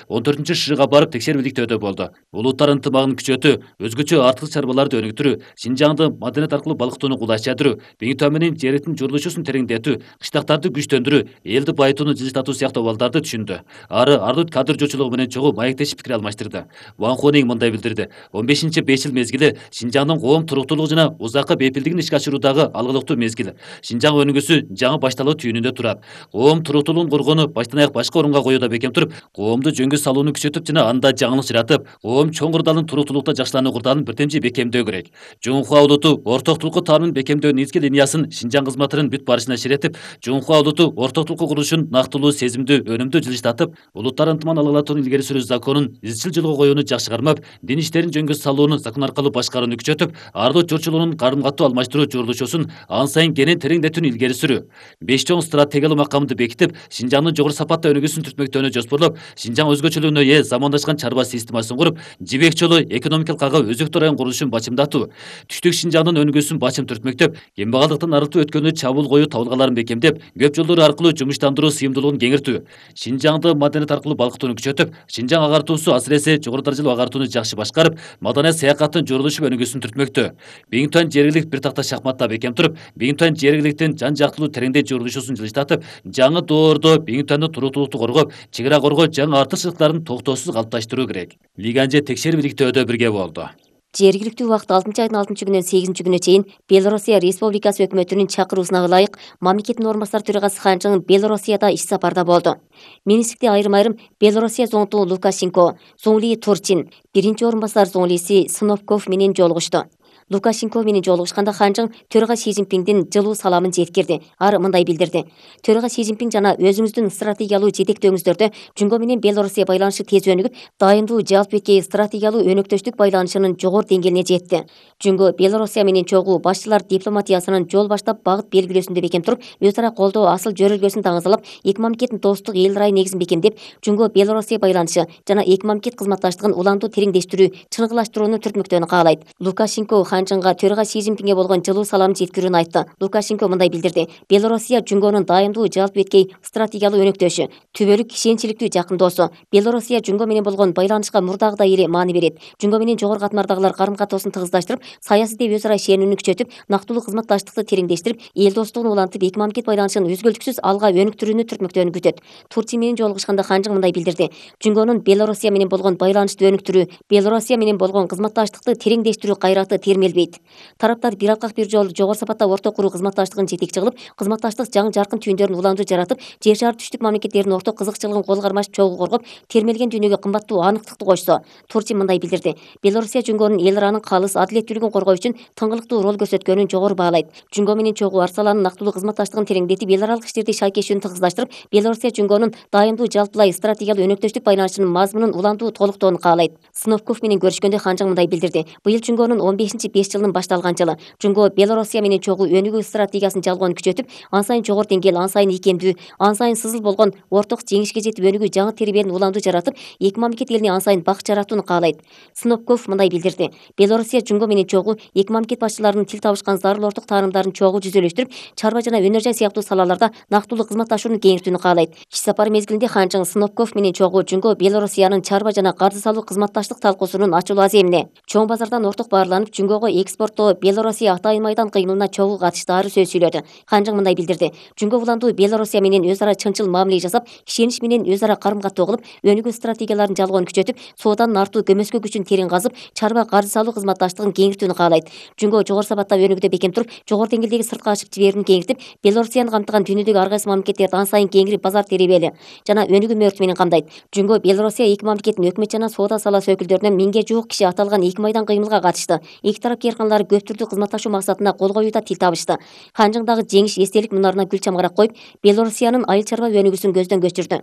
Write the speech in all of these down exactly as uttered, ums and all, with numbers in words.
он төртүнчү шыга барып текшерүүлүктөөдө болду. Улуттар ынтымагын күчөтүү, өзгөчө артык чарбаларды өнүктүрүү, Шинжаңды маданият аркылуу балыктоону кулайчандыруу, Биңитөө менен жердин журулушусун тереңдетүү, кыштактарды күчтөндүрүү, элди байытууну жылжытуу сыяктуу абалдарды түшүндү. Ары ардут кадр жоочулугу менен чогуу маектешип пикир алмаштырды. Ван Хунинг мындай билдирди: он бешинчи беш жыл мезгили Шинжаңдын коом туруктуулугу жана узакка бейпилдигин ишке ашыруудагы алгылыктуу мезгил. Шинжаң өнүгүүсү жаңы башталуу түйүнүндө турат. Коом туруктуулугун коргоону баштан аяк башка орунга коюуда бекем туруп, коомду жөнгө салууну күчөтүп жана анда жаңылык жаратып, коом чоң курдалын туруктуулукта жакшылануу курдалын бирдемчи бекемдөө керек. Жунхуа улуту орток тулку таанын бекемдөө негизги линиясын Шинжаң кызматынын бүт барышына ширетип, Жунхуа улуту орток тулку курулушун нактылуу, сезимдүү, өнүмдүү жылыштатып, улуттар ынтымагын алгылатууну илгери суруу законун изчил жолго коюуну жакшы кармап, дин иштерин жөнгө салууну закон аркылуу башкарууну күчөтүп, ардут журчулугунун каарым катуу алмаштыруу журулушусун ан сайын кенен тереңдетүүнү илгери сүрүү. Беш чоң стратегиялуу макамды бекитип, Шинжаңдын жогору сапатта өнүгүүсүн түртмөктөөнү жоспорлоп, Шинжаң өзгөчөлүгүнө ээ замандашкан чарба системасын куруп, жибек жолу экономикалык ага өзөктүү район курулушун бачымдатуу, түштүк Шинжаңдын өнүгүүсүн бачым түртмөктөп, кембагалдыктан арылтуу өткөнү чабуул коюу табылгаларын бекемдеп, көп жолдору аркылуу жумуштандыруу сыйымдуулугун кеңиртүү, Шинжаңды маданият аркылуу балыктоону күчөтүп, Шинжаң агартуусу асыресе жогору даражалуу агартууну жакшы башкарып, маданият саякаттын журулушу өнүгүүсүн түртмөктө. Биңитөө жергилик бир такта шахматта бекем туруп, Биңитөө жергиликтин жан жактылуу тереңдей журулушусун жылыштатып, жаңы доордо Биңитөөдүн туруктуулукту коргоп, чек ара коргоо жаңы артыкчылыктарын токтоосуз калыпташтыруу керек. Лиганже текшерүүлүктөөдө бирге болду. Жергиликтүү убакыт алтынчы айдын алтынчы күнүнөн сегизинчи күнүнө чейин Белоруссия Республикасы өкмөтүнүн чакыруусуна ылайык мамлекеттин орун басары төрагасы Ханчың Белоруссияда иш сапарда болду. Министрликте айрым-айрым Белоруссия зоңту Лукашенко, Зоңли Турчин, биринчи орун басар зоңлиси Сыновков менен жолугушту. Лукашенко менен жолугушканда Ханчың төрага Си Цзиньпиңдин жылуу саламын жеткирди. Ар мындай билдирди: Төрага Си Цзиньпиң жана өзүңүздүн стратегиялуу жетектөөңүздөрдө Жунго менен Белоруссия байланышы тез өнүгүп, дайындуу жалпы беткей стратегиялуу өнөктөштүк байланышынын жогору деңгээлине жетти. Жунго Белоруссия менен чогуу башчылар дипломатиясынын жол баштап багыт белгилөөсүндө бекем туруп, өз ара колдоо асыл жөрөлгөсүн таңазалап, эки мамлекеттин достук эл ырайы негизин бекемдеп, Жунго Белоруссия байланышы жана эки мамлекет кызматташтыгын улантуу тереңдештирүү, чыныгылаштырууну түртмөктөөнү каалайт. Лукашенко Ханчыңга төрага Си Цзиньпиңге болгон жылуу саламын жеткирүүнү айтты. Лукашенко мындай билдирди: Белоруссия Жунгонун дайындуу жалпы беткей стратегиялуу өнөктөшү, түбөлүк ишенчиликтүү жакын досу. Белоруссия Жунго менен болгон байланышка мурдагыдай эле маани берет. Жунго менен жогору катмардагылар карым-катоосун тыгыздаштырып, саясий деп өз ара ишенүүнү күчөтүп, нактылуу кызматташтыкты тереңдештирип, эл достугун улантып, эки мамлекет байланышын үзгүлтүксүз алга өнүктүрүүнү түртмөктөөнү күтөт. Турчин менен жолугушканда Ханчың мындай билдирди: Жунгонун Белоруссия менен болгон байланышты өнүктүрүү, Белоруссия менен болгон кызматташтыкты тереңдештирүү кайраты термелбейт. Тараптар бир алкак бир жол жогору сапатта орток куруу кызматташтыгын жетекчи кылып, кызматташтык жаңы жаркын түйүндөрүн уланду жаратып, жер шары түштүк мамлекеттердин орток кызыкчылыгын кол кармаш чогуу коргоп, термелген дүйнөгө кымбаттуу аныктыкты кошсо. Турчин мындай билдирди: Белоруссия Жунгонун эл ыраанын калыс, адилеттүүлүгүн коргоо үчүн тыңгылыктуу роль көрсөткөнүн жогору баалайт. Жунго менен чогуу Арсаландын нактылуу кызматташтыгын тереңдетип, эл аралык иштерди шайкешүүнү тыгыздаштырып, Белоруссия Жунгонун дайындуу жалпылай стратегиялуу өнөктөштүк байланышынын мазмунун улантуу толуктоону каалайт. Сыновков менен көрүшкөндө Ханчың мындай билдирди: Быйыл Жунгонун он бешинчи беш жылынын башталган жылы. Жунго Белоруссия менен чогуу өнүгүү стратегиясын жалгоону күчөтүп, ан сайын жогору деңгээл, ан сайын ийкемдүү, ан сайын сызыл болгон орток жеңишке жетип өнүгүү жаңы тербелин уланду жаратып, эки мамлекет элине ан сайын бакыт жаратууну каалайт. Сыновков мындай билдирди: Белоруссия Жунго менен чогуу эки мамлекет башчыларынын тил табышкан зарыл орток тааныштарын чогуу жүзөлөштүрүп, чарба жана өнөр жай сыяктуу салаларда нактылуу кызматташууну кеңиртүүнү каалайт. Иш сапары мезгилинде Ханчың Сыновков менен чогуу Жунго Белоруссиянын чарба жана карды салуу кызматташтык талкуусунун ачылуу аземине, чоң базардан орток баарланып, Жунгого экспорттоо Белоруссия Атайын майдан кыймылына чогуу катыштаары сөз сүйлөдү. Ханчың мындай билдирди: Жунго уландуу Белоруссия менен өз ара чынчыл мамиле жасап, ишенич менен өз ара карым-каттоо кылып, өнүгүү стратегияларын жалгоону күчөтүп, сооданын артуу көмөскө күчүн терең казып, чарба карды салуу кызматташтыгын кеңиртүүнү каалайт. Жунго жогору сапатта өнүгүүдө бекем туруп, жогору деңгээлдеги сыртка ачык жиберүүнү кеңиртип, Белоруссияны камтыган дүйнөдөгү ар кайсы мамлекеттерди ан сайын кеңири базар теребели жана өнүгүү мөөртү менен камдайт. Жунго Белоруссия эки мамлекеттин өкмөт жана соода саласы өкүлдөрүнөн миңге жуук киши аталган эки майдан кыймылга катышты. Эки тарап кээрканалары көп түрдүү кызматташуу максатында кол коюуда тил табышты. Ханчыңдагы жеңиш эстелик мунарына гүл чамгарак коюп, Белоруссиянын айыл чарба өнүгүүсүн көздөн көчүрдү.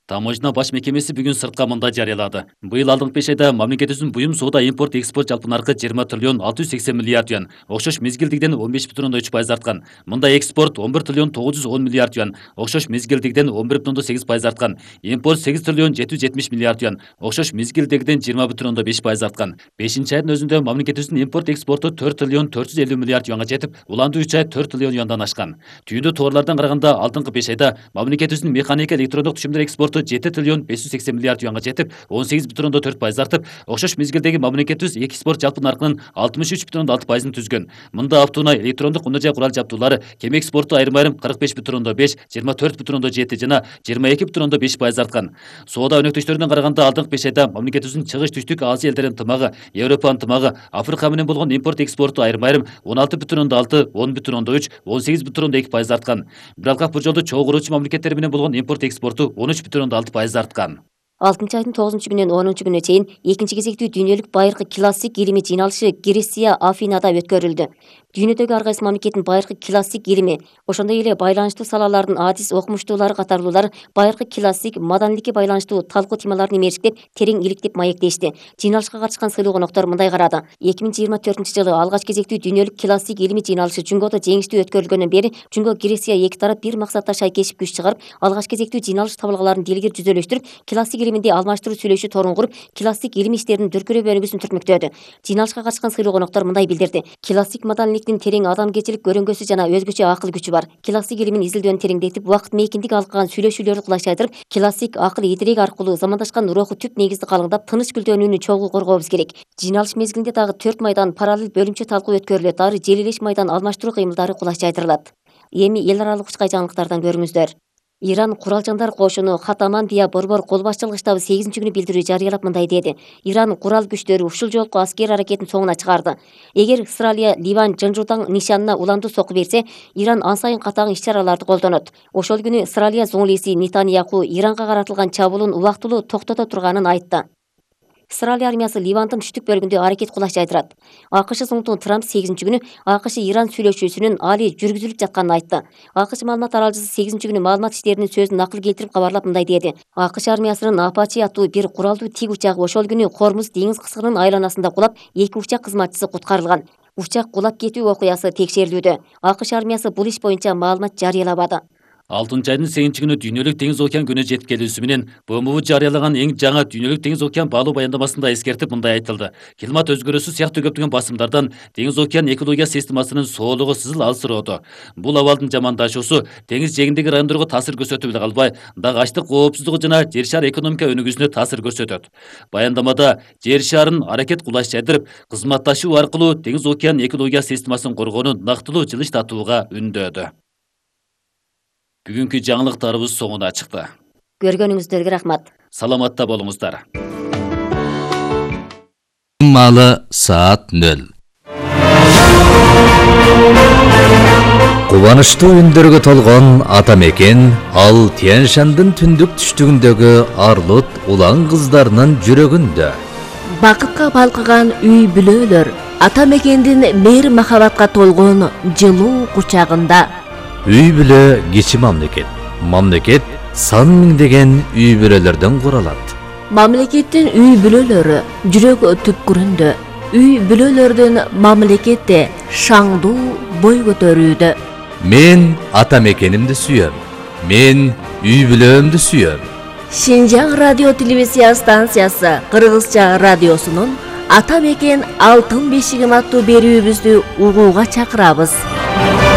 Таможня баш мекемеси бүгүн сыртка мындай жарыялады: Быйыл алдыңкы беш айда мамлекетибиздин буюм соода импорт экспорт жалпы наркы жыйырма триллион алты жүз сексен миллиард юан, окшош мезгилдигиден он беш бүтүн ондон үч пайыз арткан. Мындай экспорт он бир триллион тогуз жүз он миллиард юан, окшош мезгилдигиден он бир бүтүн ондон сегиз пайыз арткан. Импорт сегиз триллион жети жүз жетимиш миллиард юан, окшош мезгилдигиден жыйырма бүтүн ондон беш пайыз арткан. бешинчи айдын өзүндө мамлекетибиздин импорт экспорту төрт триллион төрт жүз элүү миллиард юанга жетип, уландуу үч ай төрт триллион юандан ашкан. Түйүндүү товарлардан караганда алдыңкы беш айда мамлекетибиздин механика электрондук түшүмдөр экспорту жети триллион беш жүз сексен миллиард юанга жетип, он сегиз бүтүн ондон төрт пайыз артып, окшош мезгилдеги мамлекетибиз экспорт жалпы наркынын алтымыш үч бүтүн ондон алты пайызын түзгөн. Мында автоунаа, электрондук унаа жай курал жабдуулары, кеме экспорту айрым-айрым кырк беш бүтүн ондон беш, жыйырма төрт бүтүн ондон жети жана жыйырма эки бүтүн ондон беш пайыз арткан. Соода өнөктөштөрүнөн караганда алдыңкы беш айда мамлекетибиздин чыгыш түштүк Азия элдеринин ынтымагы, Европа ынтымагы, Африка менен болгон импорт экспорту айрым-айрым он алты бүтүн ондон алты, он бүтүн ондон үч, он сегиз бүтүн ондон эки пайыз арткан. Бирок бул жолду чогуу куруучу мамлекеттер менен болгон импорт экспорту он үч бүтүн ондон алты пайыз арткан. алтынчы айдын тогузунчу күнүнөн онунчу күнүнө чейин экинчи кезектүү дүйнөлүк байыркы классик илимий жыйналышы Греция Афинада өткөрүлдү. Дүйнөдөгү ар кайсы мамлекеттин байыркы классик илими, ошондой эле байланыштуу салалардын адис окумуштуулары катарлуулар байыркы классик маданийликке байланыштуу талкуу темаларын имериштеп, терең иликтеп маектешти. Жыйналышка катышкан сыйлуу коноктор мындай карады. эки миң жыйырма төртүнчү жылы алгач кезектүү дүйнөлүк классик илимий жыйналышы Жунгодо жеңиштүү өткөрүлгөндөн бери Жунго Греция эки тарап бир максатта шайкешип күч чыгарып, алгач кезектүү жыйналыш табылгаларын дилгер жүзөлөштүрүп, классик илиминде алмаштыруу сүйлөшүү торун куруп, классик илимий иштердин дүркүрөө бөлүгүсүн түртмөктөдү. Жыйналышка катышкан сыйлуу коноктор мындай билдирди. Классик маданийликтин терең адамгерчилик көрөңгөсү жана өзгөчө акыл күчү бар. Классик илимин изилдөөнү тереңдетип, убакыт мейкиндик алган сүйлөшүүлөрдү кулайчайдырып, классик акыл идирек аркылуу замандашкан руху түп негизди калыңдап, тыныч гүлдөнүүнү чогуу коргообуз керек. Жыйналыш мезгилинде дагы төрт майдан параллель бөлүмчө талкуу өткөрүлөт, ары желилеш майдан алмаштыруу кыймылдары кулайчайдырылат. Эми эл аралык учкай жаңылыктардан көрүңүздөр. Иран Куралжандар кошуну Хатаман Бия Борбор кол башчылык штабы сегизинчи күнү билдирүү жарыялап мындай деди. Иран курал күчтөрү ушул жолку аскер аракетин соңуна чыгарды. Эгер Израиль Ливан Жынжутаң нишанына уландуу сокку берсе, Иран ан сайын катаң иш-чараларды колдонот. Ошол күнү Израиль зоңлиси Нетаньяху Иранга каратылган чабуулун убактылуу токтото турганын айтты. Израиль армиясы Ливандын түштүк бөлүгүндө аракет кулайчайдырат. АКШ Зоңтун Трамп сегизинчи күнү АКШ Иран сүйлөшүүсүнүн али жүргүзүлүп жатканын айтты. АКШ маалымат аралчысы сегизинчи күнү маалымат иштеринин сөзүн накыл келтирип кабарлап мындай деди. АКШ армиясынын Апачи аттуу бир куралдуу тиг учагы ошол күнү Хормуз деңиз кыскынын айланасында кулап, эки учак кызматчысы куткарылган. Учак кулап кетүү окуясы текшерилүүдө. АКШ армиясы бул иш боюнча маалымат жарыялабады. алтынчы айдын сегизинчи күнү дүйнөлүк деңиз океан күнү жетип келүүсү менен БМУ жарыялаган эң жаңы дүйнөлүк деңиз океан баалоо баяндамасында эскертип мындай айтылды. Климат өзгөрүүсү сыяктуу көптөгөн басымдардан деңиз океан экология системасынын соолугу сызыл алсыроодо. Бул абалдын жамандашуусу деңиз жээгиндеги райондорго таасир көрсөтүп эле калбай, дагы ачлык коопсуздугу жана жер шаар экономика өнүгүүсүнө таасир көрсөтөт. Баяндамада жер шаарын аракет кулайчайдырып, кызматташуу аркылуу деңиз океан экология системасын коргоону нактылуу жылыштатууга үндөөдү. Бүгүнкү жаңылыктарыбыз соңуна чыкты. Көргөнүңүздөргө рахмат. Саламатта болуңуздар. Маалы саат нөл. Кубанычтуу үндөргө толгон ата мекен ал Тянь-Шандын түндүк түштүгүндөгү арлыт улан кыздарынын жүрөгүндө. Бакытка балкыган үй бүлөлөр ата мекендин мейир махабатка толгон жылуу кучагында. Үй бүлө кичи мамлекет. Мамлекет сан миңдеген үй бүлөлөрдөн куралат. Мамлекеттин үй бүлөлөрү жүрөк түпкүрүндө. Үй бүлөлөрдүн мамлекетте шаңдуу бой көтөрүүдө. Мен ата мекенимди сүйөм. Мен үй бүлөмдү сүйөм. Шинжаң радио телевизия станциясы Кыргызча радиосунун Ата мекен алтын бешигим аттуу берүүбүздү угууга чакырабыз.